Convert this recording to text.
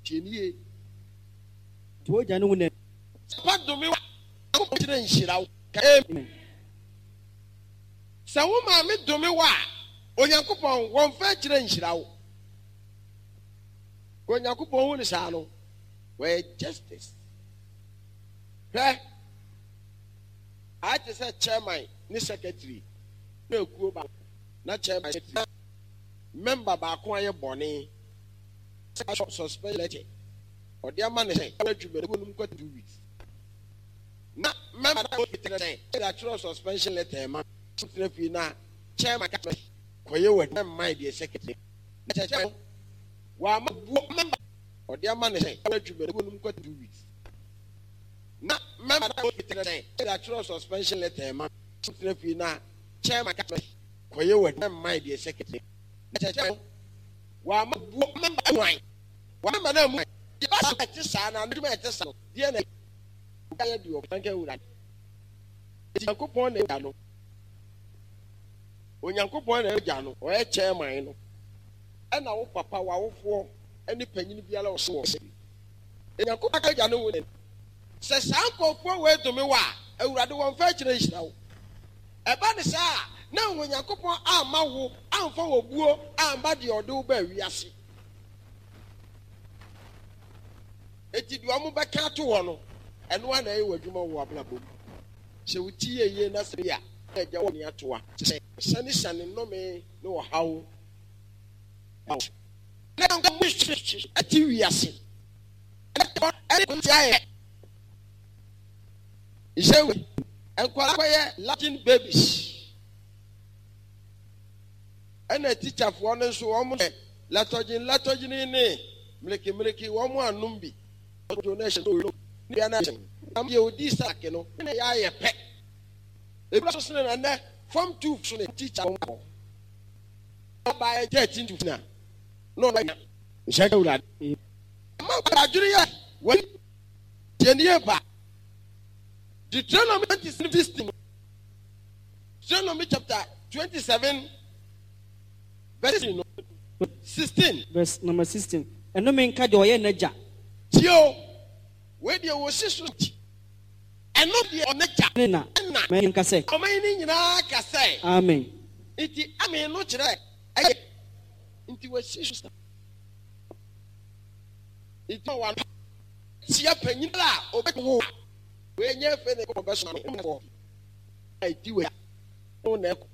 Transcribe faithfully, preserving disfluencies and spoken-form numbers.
Tie nie. Nti wogya ne wo na. Papa dome wo a, Onyankopɔn kyerɛ nhyira wo. Ka amen. Sɛ wo maame dome wo a, Onyankopɔn wɔmfa akyerɛ nhyira wo. Onyankopɔn hu ne saa no, wɔyɛ justice. Hwɛ, ayɛ te sɛ chairman ne secretary na ekuo baako na chairman secretary member baako ayɛ bɔne suspension letter ɔde ama ne sɛ adwuma no mu kɔ two weeks na member na ɔtena sɛ ɛde atwerɛ suspension letter ma tena fie na chairman ka kɔyɛ wɔ adwuma mman deɛ secretary na kyerɛ wama buo member ɔde ama ne sɛ adwuma no mu kɔ two weeks na member na ɔtena sɛ ɛde atwerɛ suspension letter ma tena fie na chairman ka kɔyɛ wɔ adwuma mman deɛ secretary na kyerɛ wama buo member wan wama na mu deɛ ba sɛ ɛte saa na adwuma ɛte saa no deɛ na yɛ deɛ ɔkanka wura Onyankopɔn na ɛgya no. Onyankopɔn na ɛgya no, ɔyɛ chairman no. Ɛna wo papa, w'awofoɔ, ne panyin biara ɔso wɔ sɛ. Onyankopɔn agya no wo ne. Sɛ saa nkurɔfoɔ wei dome wo a, Awurade wɔmfa akyerɛ nhyira wo. Ɛba ne saa a, na Onyankopɔn amma wo amfa wɔ buo amma deɛ ɔde wo baa wiase. Eti deɛ ɔmo bɛka ato hɔ no, ɛno ara na ɛyɛ w'adwuma wɔ w'abrabɔ mu. Sɛ wo ti yɛ yie na sɛ bi a, na agya wɔ ne atoa. Sɛ sane-sane nnome ne ɔhaw ba wo so. Na nka mo ɛte wiase. Ɛne ti ayɛ. Nhyɛ wei. Nkwadaa kɔyɛ Latin babies. Ɛna tikyafoɔ no nso wɔn yɛ latɔgyin latɔgyin ne mmiriki mmiriki wɔn anom bi. Ɔdwo na ɛhyɛ no ne bia na ɛhyɛ. Na deɛ odi saake no ne yɛ ayɛ pɛ. Ebi nso sene na nnɛ form two so ne teacher wɔn abɔ. Ɔbaa thirteen to na na ɔno anya. Nhyɛ Awurade. Ɛma nkwadaa adwene yɛ wɔn deɛ ne yɛ ba. Deuteronomy twenty sixteen. Deuteronomy chapter twenty seven verse sixteen. Verse number sixteen. Ɛnome nka deɛ ɔyɛ n'agya. Tie o, wei deɛ wɔsi so ti. Ɛno deɛ ɔne gya. Ne na. Ɛna. Ɔman yi nka sɛ. Ɔman yi nyinaa ka sɛ. Amen. Nti amen no kyerɛ ɛyɛ. Nti wɔsi so sa. Nti wɔn tia panyin a ɔbɛwo. Wei nyɛ fɛ na ɛkɔ bɛsoma no. Ɛdi wei. Na ɛkɔ.